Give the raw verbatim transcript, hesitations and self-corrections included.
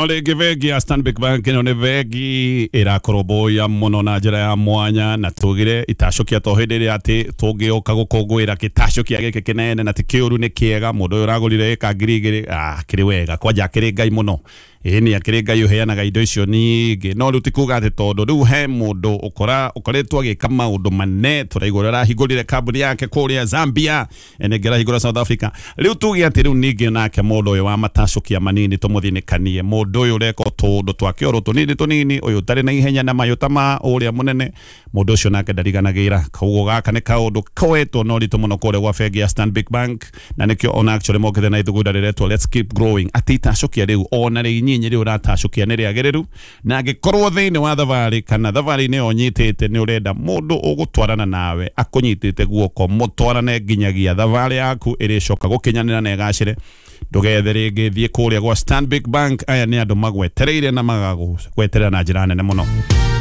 O rĩngĩ, bengi ya Stanbic Bank ĩno nĩ bengi ĩrakũrũmbũiya mũno na njĩra ya mwanya, na tugire itacũkia to hĩndĩ ĩrĩa atĩ tũngĩũka gũkũngũĩra gĩtacũkia gĩkĩ kĩnene, na ti kĩũru, nĩ kĩega. Mũndũ ũyũ ũragũrire ĩka ngiri igĩrĩ, ah, kĩrĩ wega kwanja, akĩrĩ Ngai mũno. Ĩĩ, nĩ akĩrĩ Ngai ũheanaga indo icio nyingĩ. No rĩu ti kuga atĩ tondũ rĩu he mũndũ ũkora ũkoretwo agĩka maũndũ manene, tũraigua ũrĩa arahingũrire kambuni yake kũrĩa Zambia, nĩngĩ arahingũra South Africa. Rĩu tuge atĩ rĩu ningĩ nake mũndũ ũyũ wa matacũkia manini tũmũthinĩkanie, mũndũ ũyũ ũreka tũũndũ twake oro tũnini tũnini, ũyũ ũtarĩ na ihenya na mayũ ta ma ũrĩa mũnene, mũndũ ũcio nake ndariganagĩra. Koguo gaka nĩ kaũndũ koetwo na ũritũ mũno kũrĩa gwa bengi ya Stanbic Bank, na nĩkĩo ona actually mokĩte na ithugunda rĩretwo "Let's Keep Growing", atĩ itacũkia rĩu ona rĩ inyinyi rĩu ũratacũkia nĩ rĩagĩrĩru. Na angĩkorwo thĩinĩ wa thabarĩ kana thabarĩ-inĩ ĩyo ũnyitĩte nĩ ũrenda mũndũ ũgũtwarana nawe akũnyitĩte guoko, mũtwarane nginyagia thabarĩ yaku ĩrĩcoka gũkinyanĩra na ĩgacĩre, ndũgethe rĩngĩ, thiĩ kũrĩa gwa Stanbic Bank. Aya nĩ andũ magwetereire na magagweterera na njĩra nene mũno.